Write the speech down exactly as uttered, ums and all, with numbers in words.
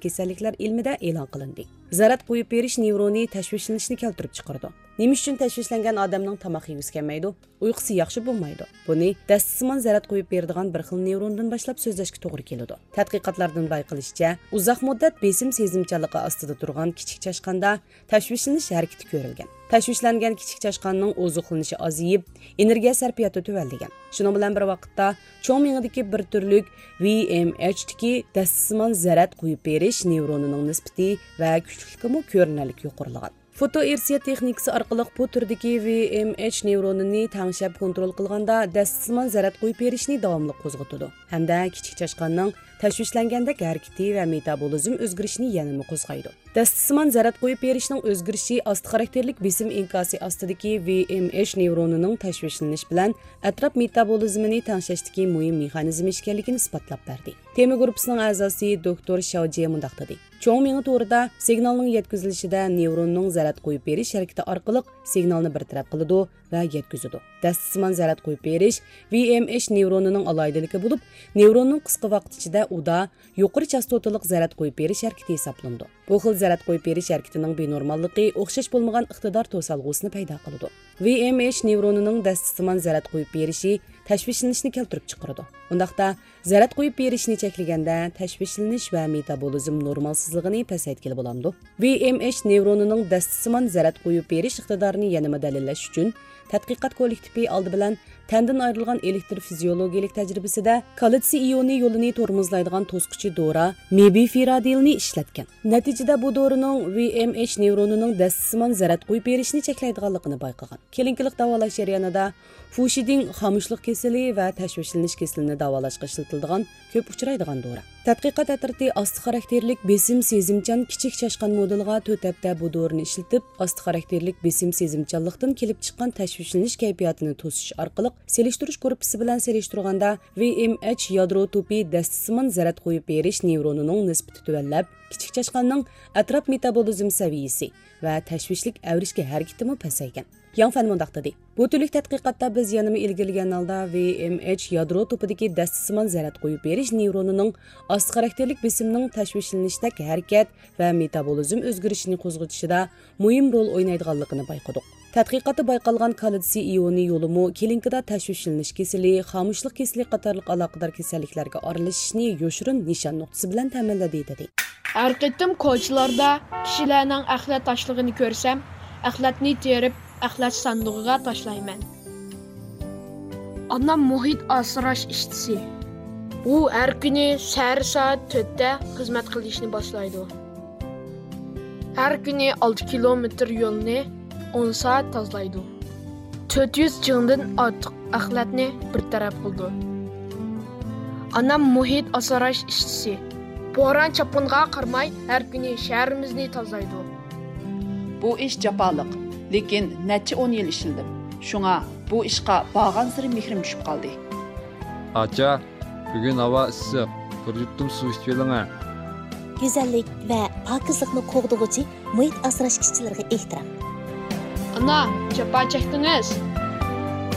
كېسەللىكلەر ئىلمىدە ئېلان قىلىندى. زەرەت قويۇپ بېرىش نېۋرونى تەشۋىشلىنىشنى كەلتۈرۈپ چىقىرىدۇ. نېمە ئۈچۈن تەشۋىشلەنگەن ئادەمنىڭ تاماق يېگۈسى كەلمەيدۇ؟ ئۇيقۇسى ياخشى بولمايدۇ. بۇنى دەستىسىمان زەرەت قويۇپ بېرىدىغان بىر خىل نېۋروندىن باشلاپ سۆزلەشكە توغرا كېلىدۇ. تەتقىقاتلاردىن بايقىلىشىچە، ئۇزاق مۇددەت بېسىم سېزىمچانلىقى ئاستىدا تۇرغان كىچىك چاشقاندا تەشۋىشلىنىش ھەرىكىتى كۆرۈلگەن. تەشۋىشلەنگەن كىچىك چاشقاننىڭ ئوزۇقلىنىشى ئازىيىپ، ئېنېرگىيە سەرپىياتى تۆۋەنلىگەن. شۇنىڭ بىلەن بىر ۋاقىتتا، چوڭ مېڭىدىكى بىر تۈرلۈك ۋي ئېم ئېچتىكى دەستىسىمان زەرەت قويۇپ بېرىش نېۋرونىنىڭ نىسبىتى ۋە كۈچلۈكلۈكىمۇ كۆرۈنەرلىك يۇقىرىلىغان. فوتوئېرسىيە تېخنىكىسى ئارقىلىق بۇ تۈردىكى ۋي ئېم ئېچ نېۋرونىنى تەڭشەپ كونترول قىلغاندا، دەستىسىمان زەرەت قويۇپ بېرىشنى داۋاملىق قوزغىتىدۇ ھەمدە كىچىك چاشقاننىڭ تەشۋىشلەنگەندەك ھەرىكىتى ۋە مېتابولىزم ئۆزگىرىشىنى يەنىمۇ قوزغايدۇ. دەستىسىمان زەرەت قويۇپ بېرىشنىڭ ئۆزگىرىشى ئاستا خاراكتېرلىك بېسىم ئىنكاسى ئاستىدىكى ۋي ئېم ئېچ نېۋرونىنىڭ تەشۋىشلىنىش بىلەن ئەتراپ مېتابولىزمىنى تەڭشەشتىكى مۇھىم مېخانىزم ئىكەنلىكىنى ئىسپاتلاپ بەردى. تېما گۇرۇپپىسىنىڭ ئەزاسى دوكتور شياۋ جيې مۇنداق دېدى. چوڭ مېڭە تورىدا سىگنالنىڭ يەتكۈزۈلۈشىدە نېۋروننىڭ زەرەت قويۇپ بېرىش ھەرىكىتى ئارقىلىق سىگنالنى بىر تەرەپ قىلىدۇ ۋە يەتكۈزىدۇ. دەستىسىمان زەرەت قويۇپ بېرىش ۋي ئېم ئېچ نېۋرونىنىڭ ئالاھىدىلىكى بولۇپ، نېۋروننىڭ قىسقا ۋاقىت ئىچىدە ئۇدا يۇقىرى چاستوتىلىق زەرەت قويۇپ بېرىش ھەرىكىتى ھېسابلىنىدۇ. بۇ خىل زەرەت قويۇپ بېرىش ھەرىكىتىنىڭ بىنورماللىقى ئوخشاش بولمىغان ئىقتىدار توسالغۇسىنى پەيدا قىلىدۇ. ۋي ئېم ئېچ نېۋرونىنىڭ دەستىسىمان زەرەت قويۇپ بېرىشى تەشۋىشلىنىشنى كەلتۈرۈپ چىقىرىدۇ. ئۇنداقتا، زەرەت قويۇپ بېرىشنى چەكلىگەندە، تەشۋىشلىنىش ۋە مېتابولىزم نورمالسىزلىقىنى پەسەيتكىلى بولامدۇ؟ ۋي ئېم ئېچ نېۋرونىنىڭ دەستىسىمان زەرەت قويۇپ بېرىش ئىقتىدارىنى يەنىمۇ دەلىللەش ئۈچۈن، تەتقىقات كوللېكتىپى ئالدى بىلەن تەندىن ئايرىلغان ئېلېكتىر فىزىيولوگىيىلىك تەجرىبىسىدە كالتسىي ئىيونى يولىنى تورمۇزلايدىغان توسقۇچى دورا مېبىفېرادىلنى ئىشلەتكەن. نەتىجىدە بۇ دورىنىڭ ۋي ئېم ئېچ نېۋرونىنىڭ دەستىسىمان زەرەت قويۇپ بېرىشنى چەكلەيدىغانلىقىنى بايقىغان. كلىنىكىلىق داۋالاش جەريانىدا فۇشىدىڭ خامۇشلۇق كېسىلى ۋە تەشۋىشلىنىش كېسىلىنى داۋالاشقا ئىشلىتىلىدىغان كۆپ ئۇچرايدىغان دورا. تەتقىقات ئەترىتى ئاستا خاراكتېرلىك بېسىم سېزىمچان كىچىك چاشقان مودېلىغا تۆت ھەپتە بۇ دورىنى ئىشلىتىپ، ئاستا خاراكتېرلىك بېسىم سېزىمچانلىقتىن كېلىپ چىققان تەشۋىشلىنىش كەيپىياتىنى توسۇش ئارقىلىق سېلىشتۇرۇش گۇرۇپپىسى بىلەن سېلىشتۇرغاندا، ۋي ئېم ئېچ يادرو توپى دەستىسىمان زەرەت قويۇپ بېرىش نېۋرونىنىڭ نىسبىتى تۆۋەنلەپ، كىچىك چاشقاننىڭ ئەتراپ مېتابولىزم سەۋىيىسى ۋە تەشۋىشلىك ئەۋرىشكە ھەرىكىتىمۇ پەسەيگەن. ياڭ فەن مۇنداق دېدى، بۇ تۈرلۈك تەتقىقاتتا بىز يەنىمۇ ئىلگىرىلىگەن ھالدا ۋي ئېم ئېچ يادرو توپىدىكى دەستىسىمان زەرەت قويۇپ بېرىش نېۋرونىنىڭ ئاستا خاراكتېرلىك بېسىمنىڭ تەشۋىشلىنىشتەك ھەرىكەت ۋە مېتابولىزم ئۆزگىرىشىنى قوزغىتىشىدا مۇھىم رول ئوينايدىغانلىقىنى بايقىدۇق. تەتقىقاتتا بايقالغان كالتسىي ئىيونى يولىمۇ كلىنىكىدا تەشۋىشلىنىش كېسىلى، خامۇشلۇق كېسىلى قاتارلىق ئالاقىدار كېسەللىكلەرگە ئارىلىشىشنى يوشۇرۇن نىشان نۇقتىسى بىلەن تەمىنلىدى، دېدى. ھەر قېتىم كوچىلاردا كىشىلەرنىڭ ئەخلەت تاشلىغىنى كۆرسەم، ئەخلەتنى تېرىپ، ئەخلەت ساندۇقىغا تاشلايمەن. ئانام مۇھىت ئاسراش ئىشچىسى. ئۇ ھەر كۈنى سەھەر سائەت تۆتتە خىزمەت قىلىشنى باشلايدۇ. ھەر كۈنى ئالتە كىلومېتىر يولنى ئون سائەت تازىلايدۇ. تۆت يۈز جىڭدىن ئارتۇق ئەخلەتنى بىر تەرەپ قىلىدۇ. ئانام مۇھىت ئاسراش ئىشچىسى. بوران-چاپقۇنغا قارىماي، ھەر كۈنى شەھىرىمىزنى تازىلايدۇ. بۇ ئىش جاپالىق، لېكىن نەچچە ئون يىل ئىشلىدىم. شۇڭا بۇ ئىشقا بارغانسېرى مېھرىم چۈشۈپ قالدى. ئاچا، بۈگۈن ھاۋا ئىسسىق، بىر يۇتۇم سۇ ئىچىۋېلىڭە. گۈزەللىك ۋە پاكىزلىقنى قوغدىغۇچى مۇھىت ئاسراش ئىشچىلىرىغا ئېھتىرام. ئانا، جاپا چەكتىڭىز.